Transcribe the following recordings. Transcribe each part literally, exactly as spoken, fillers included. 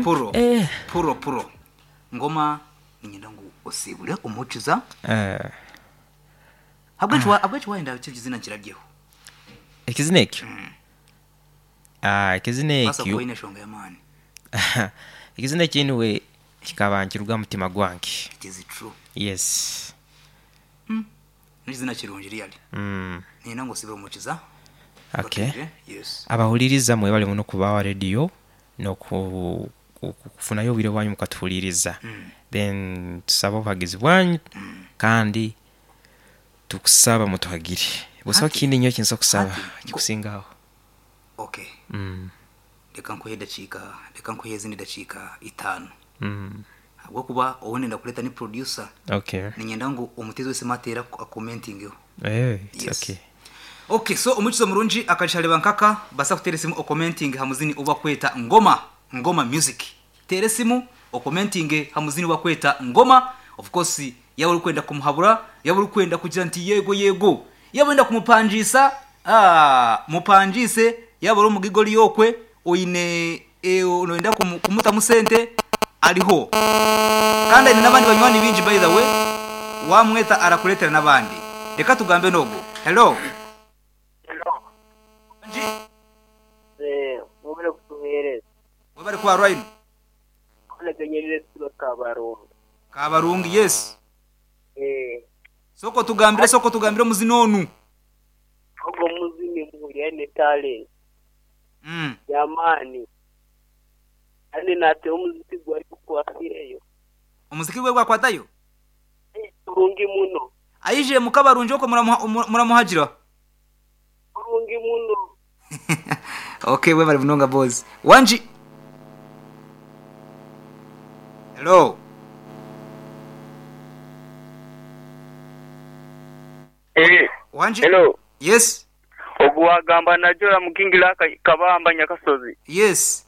Puro. Eh. Puro puro. Ngoma ninyenda ngu osibule omukiza. Eh, Habwechi wa habwechi waenda kizina kirabyeho. Ekizina ekyo, Ah, ekizina Basa ekyo kuine shonga y'amaani. Ekizina ekyo anyway kikaba nkiruga mutima gwange. It is true. Yes. N'ekizina kirungi really. mm. Ninyenda ngu osibule omukiza. Okay. Yes. Abahuliriza mwebale muno kubawa rediyo n'okufunayo obwire bwanyu mukatuhuliriza, then tusaba obuhagizi bwanyu kandi tukusaba mutuhagire busaho. Hati- Kindi nyo kinsa okusaba hati- kikusingaho. Okay. mm. Reka nkuhe dakiika, reka nkuhe ezindi dakiika itaano. Mm. Habwokuba owu nenda kuleta ni producer. Okay. Ninyenda ngu omutezi wese matera akomentingeho. Eh, it's Yes. okay. Okay, so omukizo murungi akashareba nkaka basa kutera esimu okomenting hamuzini uba kweta Ngoma, Ngoma Music. Tera esimu okomenting hamuzini uba kweta Ngoma. Of course yaba uri kwenda kumuhabura, yaba uri kwenda kugira nti yego yego, yaba wenda kumupanjisa, ah, mupanjise, yaba uri omugigoli yokwe oine e, noyenda kumu, kumutamu sente ariho kandi aine n'abandi banywani bingi. By the way, wamweta arakuretera n'abandi. Reka tugambe nogo. Hello. Nji. Eh, mubere kutuhereza. Webale kuba rwino. Konegenyerere silo kabarungu. Kabarungi, yes. Eh, soko tugambire, soko tugambire omuzini onu. Ogwo muzini muhuriye ne talent mm. yamaani. Kandi nate omuziki gwari kukwasireyo. Omuziki gwe gwakwatayo. Kurungi muno. Aije mukabarungi oko muramuha- muramuhagira. Kurungi muno. Okay, webale munonga boys. Wanji. Hello. Eh, Wanji. Hello. Yes. Ogwo wagamba najora mukingira aka- kabamba Nyakasozi. Yes.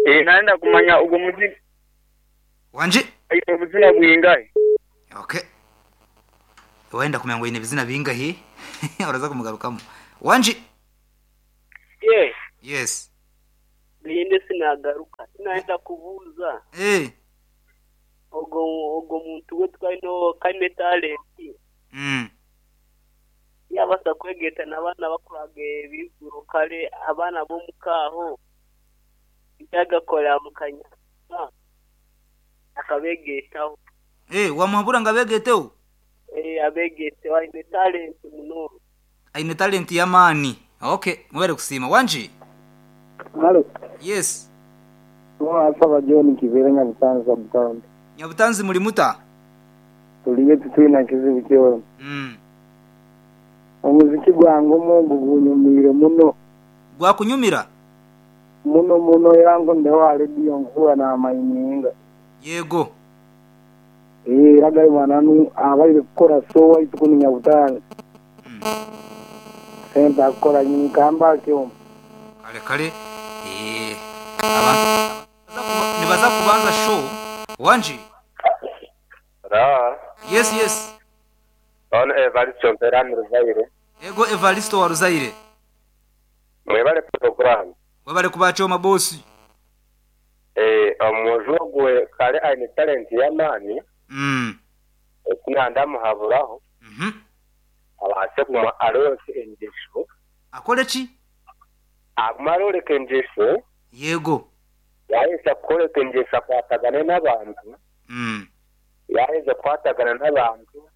Eh, nanda kumanya ogwo muzini Wanji. obuzina bwingahe. Okay, wenda kumenya ngo ine bizina bingahe uraza kumugarukamu. Wanji. Ye, Yes. niyende sinagaruka. Sinaenda kubuuza. Eh. Ogwo ogwo muntu we twalino kaine talent. mm. Yabasa kwegeta n'abaana bakuraga ebiguro kale abaana b'omukaaho nkyagakorera mukanya akabegetaho. Eh, wamuhabura ngo abegeteho. Eh, abegeteho aine talent muno. Aine talent y'amaani. Okay, mubere kusiima. Wanji. Halo, Yes. Asaba John Kivere, Nyabutanzi sub-county. Nyabutanzi muri muta? Tuliye tutwina kizibu kyona. mm. Omuziki gwange omungu gunyumire muno. Gwakunyumira. Muno muno, era ngo ndewa rediyo nkuba n'amayininga. Yego. Ee, era gali mananu abaire kukora so waitu kunu Nyabutanzi. mm. Sente akukora nyini kamba kyomu. Kale kale, eh, abantu nibaza kuba- nibaza kubanza show. Wanji. Ra. Yes yes. Ono Evaristo Mperani Ruzaire. Ego Evaristo wa Ruzaire. Mwebale program. Webale kubachoma bosi. Eh, omuju ogwe kale aine talent y'amaani. mm. Ekinanda muhaburaho mm abase kuma aroreka engesho. Akole ki? Aguma aroreka engesho. Yego. Yaheza kukoreka engesho akwatagane n'abantu. mm. Yaheza kukwatagana n'abantu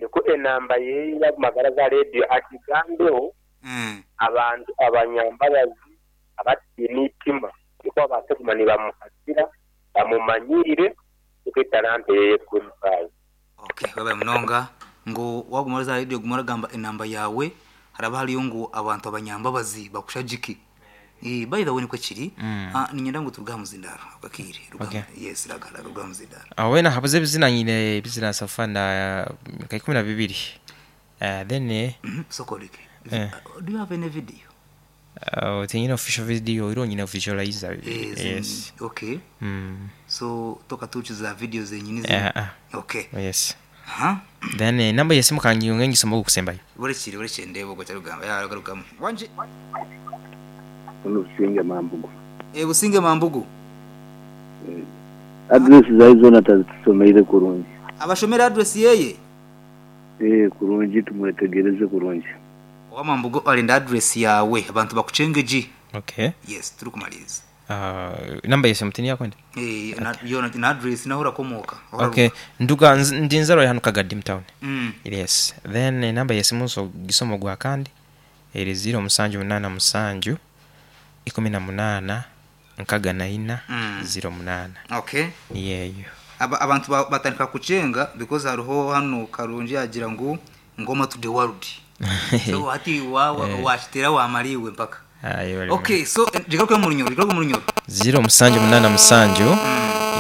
niko enamba ye y'amagara za rediyo akigambeho. Mm. Abantu abanyambabazi abatiine itima niko babase kuguma nibamuhatira bamumanyire niko etalanta ye kuri. Okay, webale munonga. Ngo waguma za radio guma oragamba enamba yawe haraba hariyo ngu abantu abanyambabazi bakushagiki. Eh, by the way niko kiri. Mm. Ah, ninyenda ngu turuga muzindaro akakiri. Okay. Yes, raga ruga muzindaro. Aho wena habuze ebizina nyine ebizina safa na nka ikumi na bibiri. Uh, then eh, Mhm, sokoleke. Eh. Do you have any video? uh, tinyine official video iro nyine visualizer. Eh, zi- Yes. Okay. mm. So toka tuchiza video zenyini zi. Eh, ah. Okay. Yes. Ha? Then eh, namba yesimu kanyunge ngisoma okusembayo. Burekire burekire ndebo go cyarugamba ya garukamu. Wanje. Ono Businge Mambugu. E, Businge Mambugu. Address zayi zona tazitusomeire kurungi. Abashomera address yeye. Eh kurungi tumwetegereze kurungi. Owa Mambugu alinda address yawe abantu bakucengeji. Okay. Yes, turi kumaliriza. Uh, namba yese mutini yakwenda. Eh, na yo na address naho urakomoka. Okay. Nduga nz- ndi nzarwa hano Kagadi town. Mm. Yes. Then enamba yesimu nso gisomo gwa kandi eri zero musanju munana musanju ikumi na munana nkaga na ina Mm. zero munana. Okay. Niyeyo. Aba, abantu ba- batandika kucenga because hariho hano Karungi yagira ngu ngoma to the world. So hati wa washitera wamaliwe mpaka. Ayo bali. Okay, so eh, jigaruke mu runyoro, jigaruke mu runyoro. Zero musanju munana musanju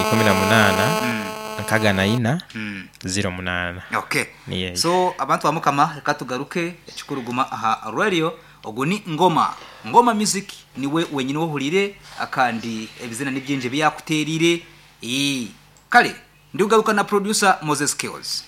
ikumi na munana Mm. nkaga na ina Mm. zero munana. Okay. Niyeyo. So abantu bamukama reka tugaruke ekikuruguma aha radio ogu ni ngoma ngoma music niwe wenyine wohurire akandi ebizina nibyinji byakuterire. Ee, kale ndiugaruka na producer Moses Kills.